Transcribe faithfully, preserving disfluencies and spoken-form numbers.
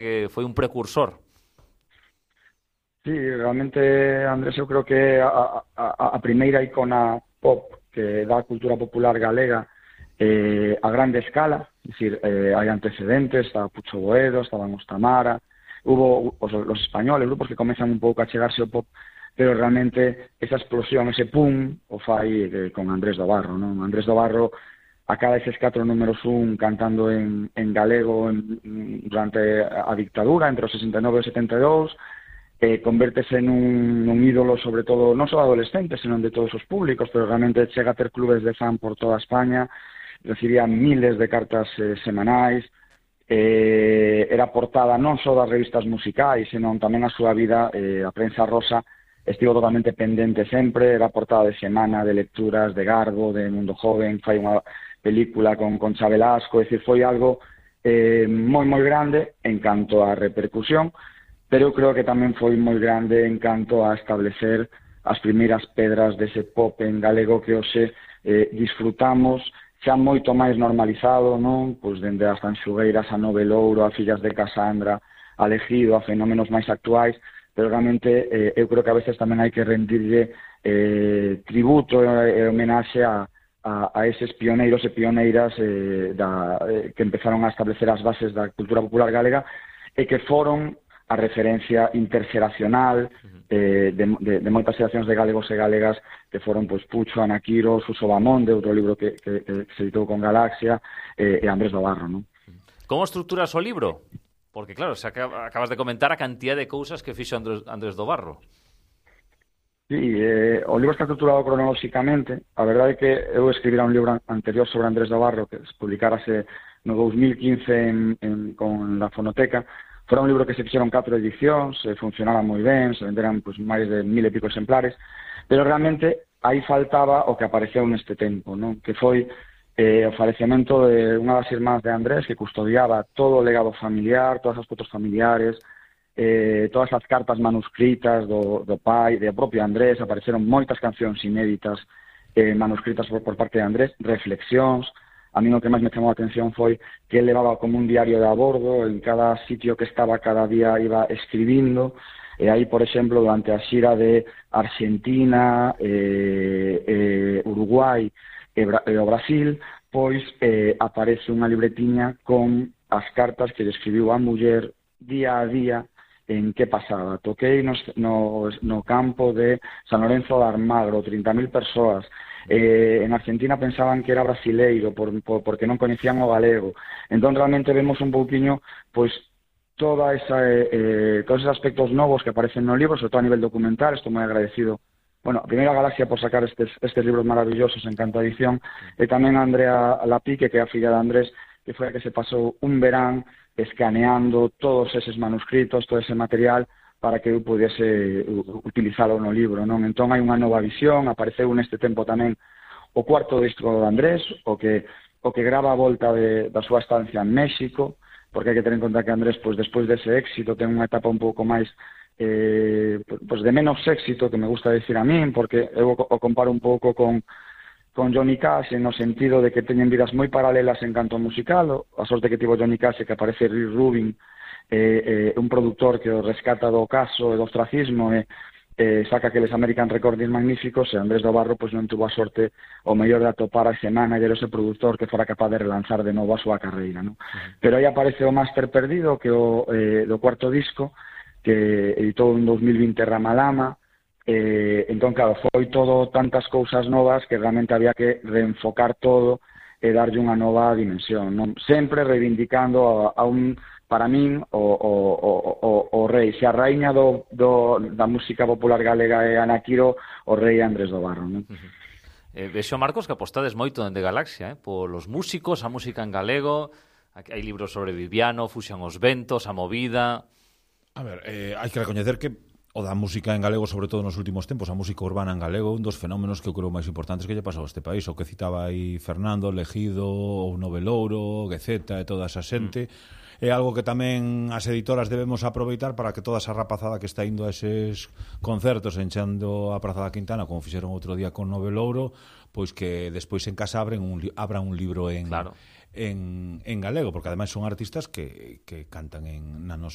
que foi un precursor. Sí, realmente, Andrés, eu creo que a, a, a primeira icona pop que dá a cultura popular galega eh, a grande escala, es decir, eh, hai antecedentes, estaba Pucho Boedo, estaban os Tamara, hubo os, los españoles, grupos que comezan un pouco a chegarse ao pop, pero realmente esa explosión, ese pum, o fai eh, con Andrés do Barro, non? Andrés do Barro acaba eses catro números un cantando en, en galego en, durante a dictadura, entre os sesenta e nove e os setenta e dous, eh, convértese nun, nun ídolo, sobre todo, non só adolescentes, senón de todos os públicos, pero realmente chega a ter clubes de fan por toda España, recibía miles de cartas eh, semanais, eh, era portada non só das revistas musicais, senón tamén a súa vida, eh, a prensa rosa, estivo totalmente pendente sempre, era portada de semana, de lecturas, de Garbo, de Mundo Joven, fai unha película con, con Chabelasco, é dicir, foi algo eh, moi, moi grande en canto á repercusión, pero eu creo que tamén foi moi grande en canto a establecer as primeiras pedras dese pop en galego que hoxe eh, disfrutamos xa moito máis normalizado, non? Pois dende as Tanxugueiras, a Novelouro, a Fillas de Casandra, a Legido, a fenómenos máis actuais, pero realmente eh, eu creo que a veces tamén hai que rendirlle eh, tributo e eh, homenaxe a, a, a eses pioneiros e pioneiras eh, da, eh, que empezaron a establecer as bases da cultura popular galega e que foron a referencia interxeracional eh, de, de, de moitas xeracións de galegos e galegas que foron pois, Pucho, Ana Quiro, Suso Bamonde, outro libro que, que, que se editou con Galaxia, eh, e Andrés do Barro, non? Como estruturas o libro? Porque, claro, se acaba, acabas de comentar a cantidad de cousas que fixo Andrés, Andrés do Barro. Sí, eh, o libro está estruturado cronolóxicamente. A verdade é que eu escribira un libro anterior sobre Andrés do Barro que se publicarase no dos mil quince en, en, con la Fonoteca. Fora un libro que se fixeron catro edicións, eh, funcionaba moi ben, se venderan pues, máis de mil e pico exemplares, pero realmente aí faltaba o que apareceu neste tempo, non? Que foi eh, o falecemento de unha das irmás de Andrés que custodiaba todo o legado familiar, todas as fotos familiares, eh, todas as cartas manuscritas do, do pai, do propio Andrés, apareceron moitas cancións inéditas eh, manuscritas por, por parte de Andrés, reflexións. A mí o que máis me chamou a atención foi que ele levaba como un diario de a bordo, en cada sitio que estaba cada día iba escribindo, e aí, por exemplo, durante a xira de Argentina, eh, eh, Uruguai e, Bra e o Brasil, pois eh, aparece unha libretiña con as cartas que lle escribiu a muller día a día en que pasaba. Toquei no, no, no campo de San Lorenzo de Almagro, trinta mil persoas. Eh, en Argentina pensaban que era brasileiro por, por, porque non coñecían o galego. Entón realmente vemos un pouquiño pois toda esa, eh, todos esos aspectos novos que aparecen no libro, sobre todo a nivel documental. Estou moi agradecido, bueno, a primeira Galaxia por sacar estes, estes libros maravillosos en canto a edición, e tamén a Andrea Lapique, que é a filla de Andrés, que foi a que se pasou un verán escaneando todos eses manuscritos, todo ese material, para que eu pudiese utilizalo no libro, non? Entón hai unha nova visión, apareceu neste tempo tamén o cuarto disco de Andrés, o que o que grava a volta de, da súa estancia en México, porque hai que ter en conta que Andrés, pois, despois dese éxito, ten unha etapa un pouco máis eh, pois de menos éxito, que me gusta decir a min, porque eu o comparo un pouco con con Johnny Cash, no sentido de que teñen vidas moi paralelas en canto musical. A sorte que tivo Johnny Cash é que aparece Rick Rubin, Eh, eh, un productor que o rescata do caso e do ostracismo e eh, saca aqueles American Recordings magníficos, e Andrés do Barro pois, non tuvo a sorte o mellor de atopar a ese manager, ese productor que fora capaz de relanzar de novo a súa carreira, ¿no? Uh-huh. Pero aí aparece o Máster Perdido, que o eh, do cuarto disco, que editou en dos mil vinte Ramalama. Eh, entón, claro, foi todo tantas cousas novas que realmente había que reenfocar todo e darlle unha nova dimensión, non? Sempre reivindicando a, a un, para min, o, o, o, o, o rei. Se a raíña do, do, da música popular galega é Ana Quiro, o rei Andrés do Barro, non? Uh-huh. eh, Vexo, Marcos, que apostades moito dende Galaxia, eh? Polos músicos, a música en galego. Aquí hai libros sobre Viviano, Fuxan os ventos, a movida. A ver, eh, hai que recoñecer que o da música en galego, sobre todo nos últimos tempos, a música urbana en galego, un dos fenómenos que eu creo máis importantes que lle pasou a este país, o que citaba aí Fernando, Legido, o Novelouro, Gueceta e toda esa xente. Mm. É algo que tamén as editoras debemos aproveitar para que toda esa rapazada que está indo a eses concertos enchendo a Praza da Quintana, como fixeron outro día con Novelouro, pois que despois en casa abren un, abran un libro en, claro. en, en galego, porque ademais son artistas que, que cantan en, na nosa